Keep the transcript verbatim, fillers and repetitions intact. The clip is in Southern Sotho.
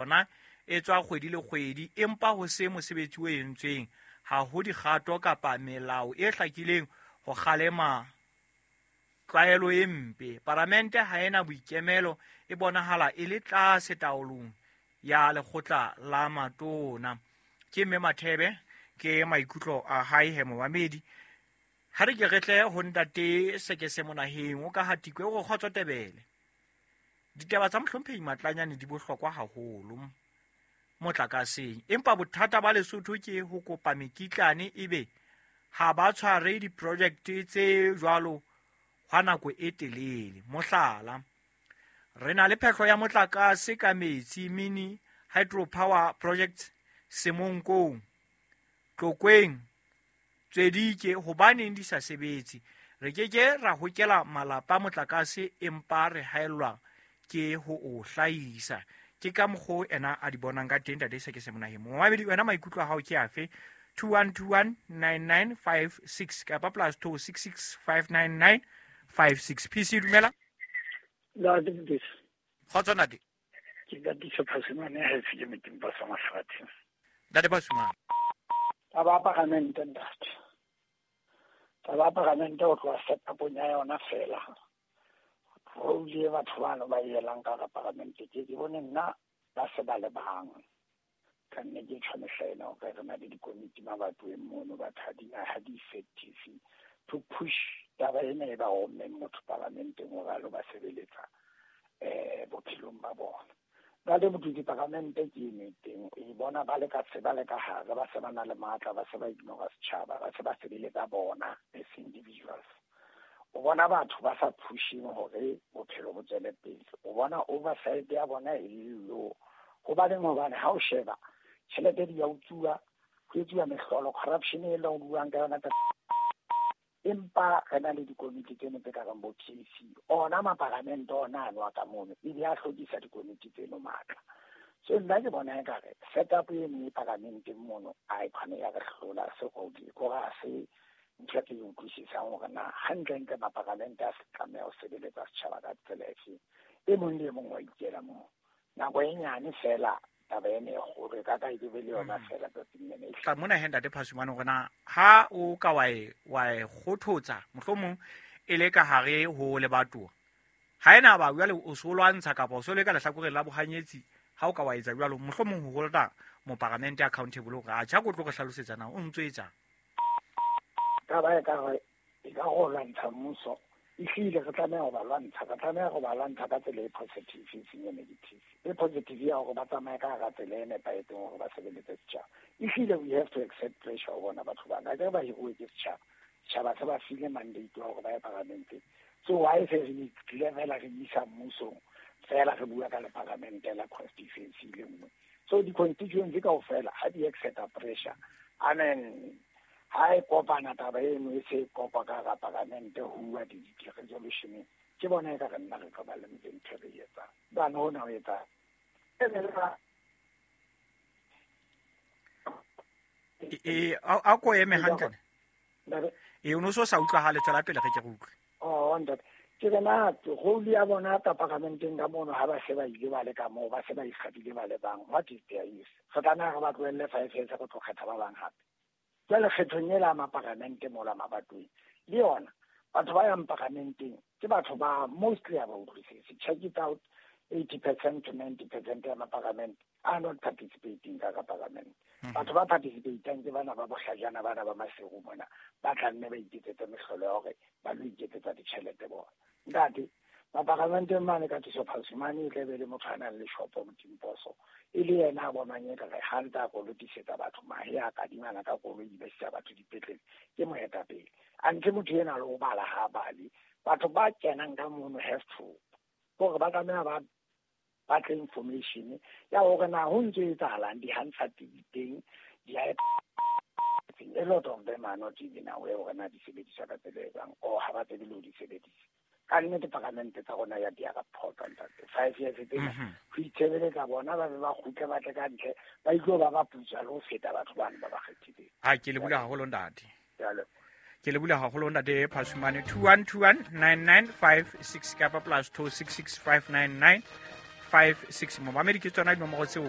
Yona e tswa kgwedi le kgwedi, empa ho se mosebetsi o entsweng. Ha ho dikgato kapa melao e hlakileng ho kgalema tlwaelo e mpe. Palamente ha ena boikemelo, e bonahala e le tlase taolong ya lekgotla la matona. Ke mme Mathebe, ke maikutlo a hae he momamedi. Ha re ke re tle ho ntate Sekese Monaheng o ka Hatikwe o re kgotso Tebele. Ditaba tsa mohlomphehi Matlanyane di bohlokwa haholo motlakaseng, empa bothata ba Lesotho ke ho kopa mekitlane ebe ha ba tshware di-project tse jwalo hwa nako e telele. Mohlala, re na le phehlo ya motlakase ka metsi, mini hydropower projects Semonkong, Tlokweng, Tswedike, hobaneng di sa sebetse? Re ke ke ra hokela malapa motlakase empa re haellwa ke ho o hlahisa. Ke ka mokgo ena a di bonang ka teng ntate Sekese Monaheng. Momamedi, wena maikutlo a hao ke afe? two one two one nine nine five six kapa plus two six six five nine nine five six. P C, dumela. Ntate Mokete. Kgotso ntate. Ke Katiso Phasumane ha e ke meteng pa sa mafatshe. Ntate Phasumane. Taba ya paramente ntate. Taba ya paramente ho tloha setupong ya yona fela. Role e batho bano ba e elang ka hara paramente ke ke bone nna ba se ba le bang. Ka nne ke tjho mehla ena hore re na le dikomiti mabatoweng mono, batho ha di ha di effective to push taba ena e ba rommeng motho paramenteng hore a lo ba sebeletsa eh bophelong ba bona. Ntate Mothusi, paramente ke eno e teng, e bona ba le ka se ba le ka hare, ba se ba na le matla, ba se ba ignora setjhaba, ba se ba sebeletsa bona as individuals. O bona batho ba sa pushing hore bophelo bo tswele pele. O bona oversight ya bona e le low. Hobaneng? Hobane ha o sheba tjhelete di ya utsuwa, ho etsuwa mehlolo, corruption e leng o buang ka yona, empa re na le dikomiti tseno tse ka reng bo P A C. Ona maparamente ona ano a ka mono ebe a hlokisa dikomiti tseno matla. So nna ke bona ekare setup eno e paramenteng mono a e kgone ya re hlola se kore ha se ntho e ke e utlwisisang hore na hantlentle maparamente a se tlameha ho sebeletsa setjhaba ka tsela efeng. E mong le e mong wa ikela moo nako e nyane fela, taba ena e kgolo e ka ka e be le yona fela tsatsing lena e Tla mona he ntate Phasumane hore na ha o ka wa e wa e kgothotsa mohlomong e le ka hare ho lebatowa, ha ena ba jwale o so lwantsha kapa o so le ka lehlakoreng la bohanyetsi, ha o ka wa etsa jwalo mohlomong ho holda moparamente accountable hore a tjha ko tlo re hlalosetsa na o ntso etsang. Taba e ka re e ka go lwantsha mmuso, ehlile re tlameha ho ba lwantsha, re tlameha ho ba lwantsha ka tsela e positive, e seng e negative. E positive ya hore ba tsamaye ka hara tsela e nepahetseng hore ba sebeletse setjhaba. Ehlile we have to accept pressure ho bona batho bana akere ba hiruwe ke setjhaba, setjhaba se ba file mandate wa hore ba ye paramenteng. So why se re tlile fela re isa mmusong fela re bua ka leparamente la constituency le nngwe? So di-constituency kaofela ha di accepta pressure, I mean, ha e kopana taba eno e se kopa ka hara paramente ho bua di-resolutioneng, ke bona e ka re nna re tlo ba le ntho e re e etsang bane hona ho etsang e E a ko eme hantle e o no so sa utlwahale, tswela pele re ke re utlwe. Oh ntate, ke re na role ya bona ka paramenteng ka mono, ha ba se ba ile ba le ka moo, ba se ba ikgabile ba le bang, what is their use? Re tlameha re ba tlohelle five years, re tlo kgetha ba bang hape. Jwale kgethong ela ya maparamente mola mabatoweng le yona, batho ba yang paramenteng ke batho ba mostly ha ba utlwisise. Check it out, eighty percent to ninety percent ya maparamente are not participating ka ka paramente. Batho ba participatang ke bana ba bohlajana, bana ba Maseru mona, ba tla nne ba iketsetse mehlolo ya hore ba lo iketsetsa ditjhelete bona. Ntate, maparamenteng mane ka Thuso Phasumane e tla be le motho a nang le shopo Motimposo, e le yena a bonang e kare ha ntse a kolotisetsa batho mahe, a kadimana ka koloi, ba isa batho dipetlele, ke moetapele. Anthe motho ena le ho bala ha bale. Batho ba kenang ka mono have to hore ba tlameha ba batle information ya hore na ho ntso etsahalang, di-Hansard di teng, di a lot of them are not even aware hore na di sebediswa ka tsela e jwang, or ha ba tsebe le ho di sebedisa. Ka nnete paramente tsa rona ya di a phoqa ntate. Five years tsena ho itshebeletsa bona, ba be ba kgutle, ba tle ka ntle, ba itlo ba ba putswa le ho feta batho bano ba ba kgethileng. Ha ke le bula haholo ntate. Jwale Ke le bula haholo ntate Phasumane. two one two one nine nine five six kapa plus two six six five nine nine five six. Momamedi, ke tsona dinomoro tseo.